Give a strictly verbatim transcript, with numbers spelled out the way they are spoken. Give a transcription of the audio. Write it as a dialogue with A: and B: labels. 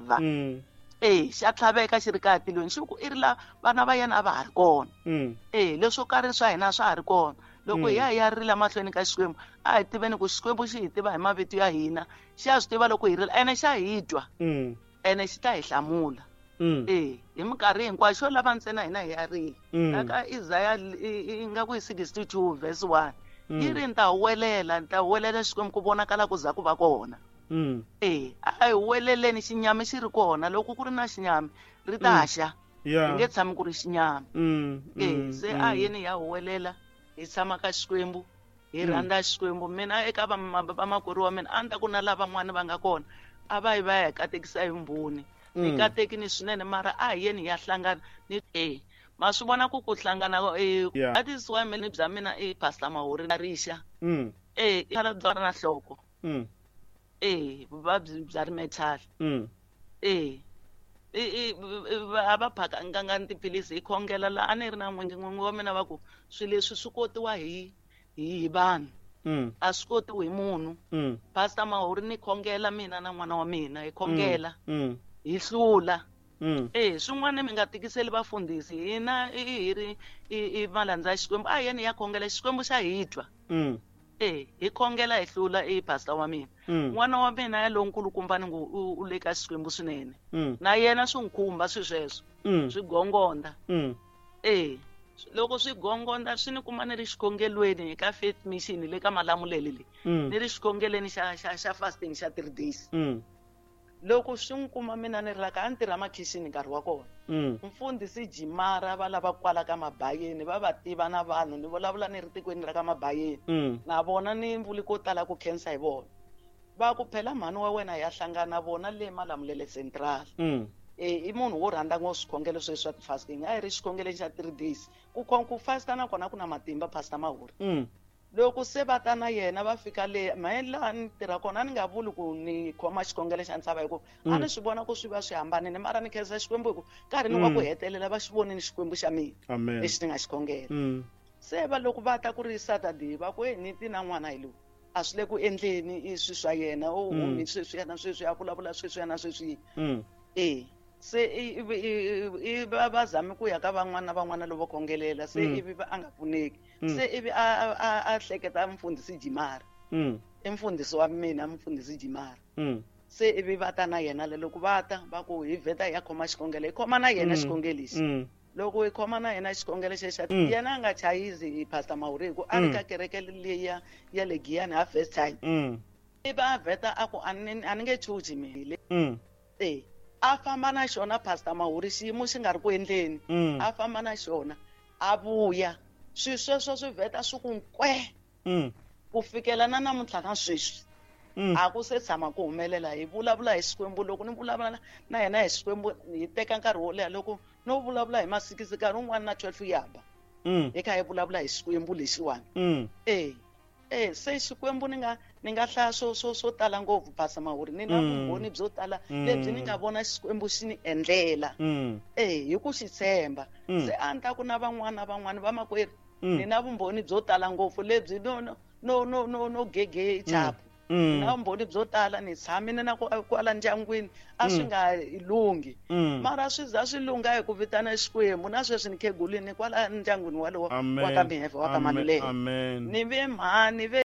A: vava
B: Mm.
A: e xa tlhaveka xi ri kaya tilweni xi ku i ri la vana va yena a va ha ri kona
B: Mm.
A: e leswo karhi swa hina swa ha ri kona loko
B: Mm.
A: hi ya hi ya rila mahlweni ka Xikwembu a hi tiveni ku Xikwembu xi hi tiva hi mavito ya hina xi ya swi tiva loko hi rila ene xa hi twa
B: Mm.
A: ene xi ta hi hlamula
B: Mm.
A: e hi minkarhi hinkwayo xo lava ntsena hina hi ya rila
B: Mm.
A: la ka Isaiah i nga ku hi sixty-two verse one
B: Mm.
A: yi ri ni ta huwelela ni ta huwelela Xikwembu ku vonakala ku za ku va kona
B: Mm.
A: e a hi huweleleni xinyami xi ri kona loko ku ri na xinyami ri ta
B: Mm.
A: xa
B: Yeah.
A: hi nge tshami ku ri xinyami
B: Mm.
A: e
B: Mm.
A: se a
B: Mm.
A: yeni hi ya huwelela hi tshama ka Xikwembu hi
B: Mm.
A: rhandza Xikwembu mina eka vamakwerhu wa mina a ni ta ku na lavan'wana va nga kona a va yi va ya hi katekisa hi mbhoni hi
B: Mm.
A: katekini swinene mara a hi yeni hi ya hlangana ni e ma swi vona ku ku hlangana e
B: Yeah.
A: that is why mina bya mina i Pastor Mahori rixa
B: Mm.
A: e i khala bya na nhloko
B: Mm.
A: e vuvabyi bya rimethali
B: Mm.
A: e i i a va phakanganga ni tiphilisi hi khongela la a ni ri na n'wingi n'wingi wa mina va ku swilo leswi swi kotiwa hi hi hi vanhu
B: Mm.
A: a swi kotiwi hi munhu
B: Mm.
A: Pastor Mahori ni khongela mina na n'wana wa mina hi khongela
B: Mm.
A: hi hlula
B: Mm.
A: e swin'wana mi nga tikiseli vafundhisi hina i hi ri i i malandza ya Xikwembu a hi yeni hi ya khongela Xikwembu xa hi twa
B: Mm.
A: e hi khongela hi hlula i pastor wa mina
B: Mm.
A: n'wana wa mina ya lonkulukumba ni ngo u u le ka Xikwembu swinene
B: Mm.
A: na yena swi n'wi khumba swi sweswo
B: Mm.
A: swi gongonda
B: Mm.
A: e loko swi gongonda swi ni kuma ni ri xikhongelweni ka Faith Mission le ka Malamulele le
B: Mm.
A: ni ri xikhongelweni xa xa xa fasting xa three days
B: Mm.
A: loko swi n'wi kuma mina ni ri la ka a ni tirha makhixini nkarhi wa kona
B: Mm.
A: mfundhisi Jimara va lava kwala ka Mabayeni va va tiva na vanhu ni vulavula ni ri tikweni ra ka Mabayeni
B: Mm.
A: na vona ni vuli ko tala ku khensa hi vona va ku phela mhani wa wena ya hlangana vona le Malamulele Central
B: Mm.
A: e i munhu wo rhandza ngopfu swikhongelo sweswi swa ti-fasting a hi ri xikhongelweni xa three days ku khon ku fasta na kona ku na matimba Pastor Mahori
B: Mm.
A: loko se va ta na yena va fika le mehe laha ni tirha kona a ni nga vuli ku ni khoma xikhongelo xa ntshava hi ku a ni swi vona ku swi va swi hambanile mara ni khensa Xikwembu hi ku nkarhini wa ku
B: Mm.
A: hetelela va xi vonile Xikwembu xa mina
B: Amen.
A: lexi ni nga xi khongela
B: Mm.
A: se va loko va ta ku ri Saturday va ku e ni ti na n'wana hi lowu a swi le ku endleni i swi swa yena u
B: Mm.
A: humi sweswiya na sweswi a vulavula sweswiya na sweswiya
B: Mm.
A: e se i i i va va zame ku ya ka van'wana na van'wana lavo khongelela se
B: Mm.
A: ivi va a nga pfuneki
B: Mm.
A: se ivi a a a hleketa mfundhisi Jimara
B: Mm.
A: i mfundhisi wa mina mfundhisi Jimara
B: Mm.
A: se ivi va ta na yena le loko va ta va ku hi vheta hi ya khoma xikhongelo hi khoma na yena
B: Mm.
A: xikhongelo lexi
B: Mm.
A: loko hi khoma na yena xikhongelo xexa
B: Mm.
A: yena a nga chayizi Pastor Mahori hi ku a ri
B: Mm.
A: ka kereke leyi ya ya le Giyani ha first time
B: Mm.
A: ivi a vheta a ku a ni a ni nge chuchi mina
B: Mm.
A: e a famba na xona Pastor Mahori xiyimo xi nga ri ku endleni
B: Mm.
A: a famba na xona a vuya swi sweswo swi vheta swi ku nkwe
B: Mm.
A: ku fikela na namuntlha na sweswi
B: Mm.
A: a ku se tshama ku humelela hi vulavula hi Xikwembu loko ni vulavula na yena hi Xikwembu hi teka nkarhi wo leha loko no vulavula hi masikisi nkarhi wun'wana na twelve ya ba
B: Mm.
A: hi kha hi vulavula hi Xikwembu lexiwani
B: Mm.
A: e e se Xikwembu ni nga ni nga hlaya swo swo swo tala ngopfu Pastor Mahori ni na
B: Mm.
A: vumbhoni byo tala
B: Mm.
A: lebyi ni nga vona Xikwembu xi ni endlela
B: Mm.
A: e hi ku xi tshemba
B: Mm.
A: se a ni ta ku na van'wana na van'wana vamakwerhu
B: Mm.
A: ni na vumbhoni byo tala ngopfu lebyi no no no no no no gege chapu
B: Mm.
A: na vumbhoni byo tala ni tshamile na ku kwala ndyangwini a swi
B: Mm.
A: nga lunghi
B: Mm.
A: mara swi za swi lungha hi ku vitana Xikwembu na sweswi ni khegulini kwala ndyangwini walowo
B: Amen.
A: wa ka Miheve wa ka
B: Amen.
A: Maluleke
B: Amen.
A: ni ve mhani ve